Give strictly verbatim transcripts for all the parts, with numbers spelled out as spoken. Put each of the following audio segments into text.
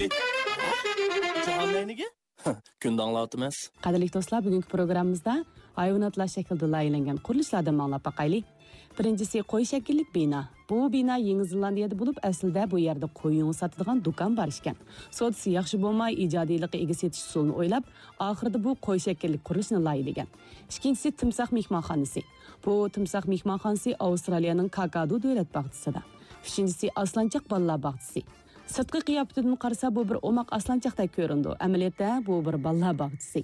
جاھان نەينىگە؟ كۈندە ئاڭلاۋاتىمىز. قەدىرلىك دوستلار، بۈگۈنكى پروگراممىمىزدا ھايۋاناتلار شەكلىدە لايىھەلەنگەن قۇرۇلۇشلاردىن ئاڭلاپ باقايلى. بىرىنچىسى قوي شەكىللىك بىنا. بۇ بىنا يېڭى زېلاندىيەدە بولۇپ، ئەسلىدە بۇ يەردە قوي يۇڭى ساتىدىغان دۇكان بار ئىكەن. سودىسى ياخشى بولماي، ئىجادىيلىققا ئىگە سېتىش ئۇسۇلىنى ئويلاپ، ئاخىرىدا بۇ قوي شەكىللىك قۇرۇلۇشنى لايىھەلىگەن. ئىككىنچىسى تىمساھ مېھمانخانىسى. بۇ تىمساھ مېھمانخانىسى ئاۋسترالىيەنىڭ كاكادو دۆلەت باغچىسىدا. ئۈچىنچىسى ئاسلانچاق بالىلار باغچىسى. سىرتقى قىياپىتىدىن قارىسا، بۇ بىر ئوماق ئاسلانچاقتەك كۆرۈنىدۇ. ئەمەلىيەتتە، بۇ بىر بالىلار باغچىسى.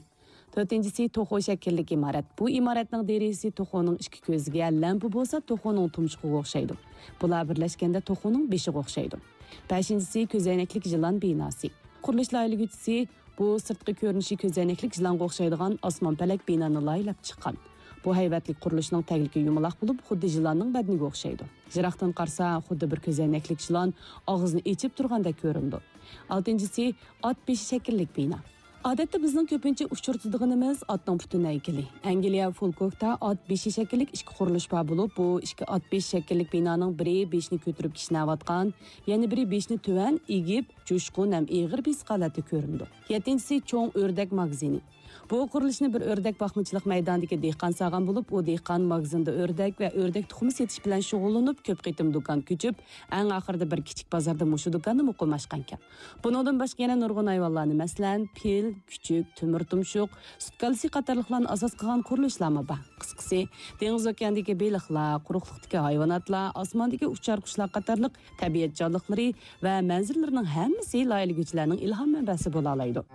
تۆتىنچىسى توخۇ شەكىللىك ئىمارەت. بۇ ئىمارەتنىڭ دېرىزىسى توخۇنىڭ ئىككى كۆزىگە، لەمپە بولسا توخۇنىڭ تۇمشۇقىغا ئوخشايدۇ. بۇلار بىرلەشكەندە توخۇنىڭ بېشىغا ئوخشايدۇ. بەشىنچىسى كۆزەينەكلىك يىلان بىناسى. قۇرۇلۇش لايىھەلىگۈچىسى بۇ سىرتقى كۆرۈنۈشى كۆزەينەكلىك يىلانغا ئوخشايدىغان ئاسمان پەلەك بىنانى لايىھەلەپ چىققان. بۇ ھەيۋەتلىك قۇرۇلۇشنىڭ تەگلىكى يۇمىلاق بولۇپ، خۇددى يىلاننىڭ بەدىنىگە ئوخشايدۇ. يىراقتىن قارىسا، خۇددى بىر كۆزەينەكلىك يىلان ئاغزىنى ئېچىپ تۇرغاندەك كۆرۈنىدۇ. ئالتىنچىسى، ئات بېشى شەكىللىك بىنا. ئادەتتە بىزنىڭ كۆپىنچە ئۇچرىتىدىغىنىمىز ئاتنىڭ پۈتۈن ھەيكىلى. ئەنگلىيە فۇلكوكتا ئات بېشى شەكىللىك ئىككى قۇرۇلۇش بار بولۇپ، بۇ ئىككى ئات بېشى شەكىللىك بىنانىڭ بىرى بېشىنى كۆتۈرۈپ كىشنەۋاتقان، يەنە بىرى بېشىنى تۆۋەن ئېگىپ، جۇشقۇن ھەم ئېغىر بېسىق ھالەتتە كۆرۈنىدۇ. يەتتىنچىسى، چوڭ ئۆردەك ماگىزىنى. بۇ قۇرۇلۇشنى بىر ئۆردەك باقمىچىلىق مەيدانىدىكى دېھقان سالغان بولۇپ، ئۇ دېھقان ماگىزىندا ئۆردەك ۋە ئۆردەك تۇخۇمى سېتىش بىلەن شۇغۇللىنىپ، كۆپ قېتىم دۇكان كۆچۈپ، ئەڭ ئاخىرىدا بىر كىچىك بازاردا مۇشۇ دۇكاننى مۇقىم ئاچقانىكەن. بۇنىڭدىن باشقا يەنە نۇرغۇن ھايۋانلارنى، مەسىلەن، پىل، كۈچۈك، تۆمۈر تۇمشۇق، سۈت كالىسى قاتارلىقلارنى ئاساس قىلغان قۇرۇلۇشلارمۇ بار. قىسقىسى، دېڭىز ئوكياندىكى بېلىقلار، قۇرۇقلۇقتىكى ھايۋاناتلار، ئاسماندىكى ئۇچار قۇشلار قاتارلىق تەبىئەت جانلىقلىرى ۋە مەنزىرىلىرىنىڭ ھەممىسى لايىھەلىگۈچىلەرنىڭ ئىلھام مەنبەسى بولالايدۇ.